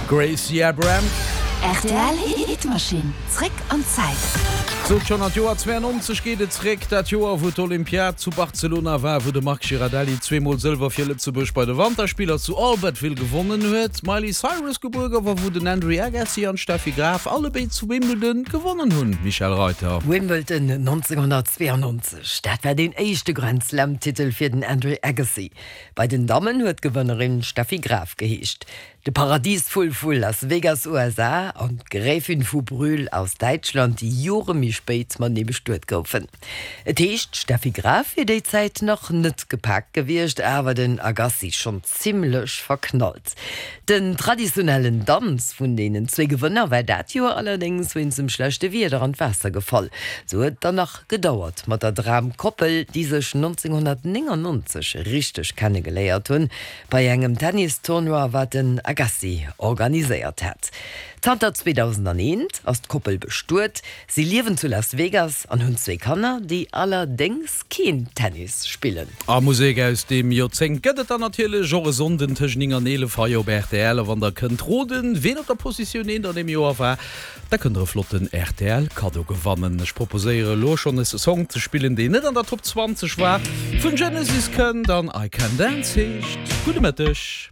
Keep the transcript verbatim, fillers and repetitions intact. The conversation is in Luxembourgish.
Gracie Abrams. Rtl Hitmaschinn, zréck an d'Zäit. Sot schonn, an d'Joer zweianonzeg geet et zréck, dat Joer wou d'Olympiad zu Barcelona war, wou de Marc Girardelli zweemol Sëlwer fir Lëtzebuerg bei de Wanterspiller zu Albertville gewonnen huet, d'Miley Cyrus gebuer gouf a wou den Andre Agassi an d'Steffi Graf allebéid zu Wimbledon gewonnen hunn. Michèle Reuter. Wimbledon nonzénghonnertzweeanonzeg, dat war deen éischte Grand-Slam-Titel fir den Andre Agassi. Bei den Dammen huet d'Gewënnerin Steffi Graf geheescht. De Paradiesvull vu Las Vegas, U S A, an d'Gräfin vu Brühl aus Däitschland, déi Jore méi spéit matenee bestuet goufen. Et heescht, d'Steffi Graf wier déi Zäit nach net gepaakt gewiescht, awer den Agassi schonn zimmlech verknallt. Den traditionellen Danz vun deenen zwee Gewënner war dat Joer allerdéngs wéinst dem schlechte Wieder an d'Waasser gefall. Sou huet et dann nach gedauert mat der Dramkoppel, déi sech nonzénghonnertnéngannonzeg richteg kennegeléiert hunn, bei engem Tennis-Tournoi, wat den Agassi organiséiert hat. Zanter zweedausendaneent ass d'Koppel bestuet, si liewen zu Las Vegas an hunn zwee Kanner, déi allerdéngs keen Tennis spillen. A Musek aus deem Joerzéngt gëtt et dann natierlech och e Sonnden tëscht néng an eelef hei op R T L. A wann der kënnt roden, ween op der Positioun eent an deem Joer war, da kënnt der e flotten R T L-Kaddo gewannen. Ech proposéiere lo schonn e Song ze spillen, deen net an der Top zwanzeg war, vun Genesis kënnt an I Can Dance heescht. Gudde Mëtteg.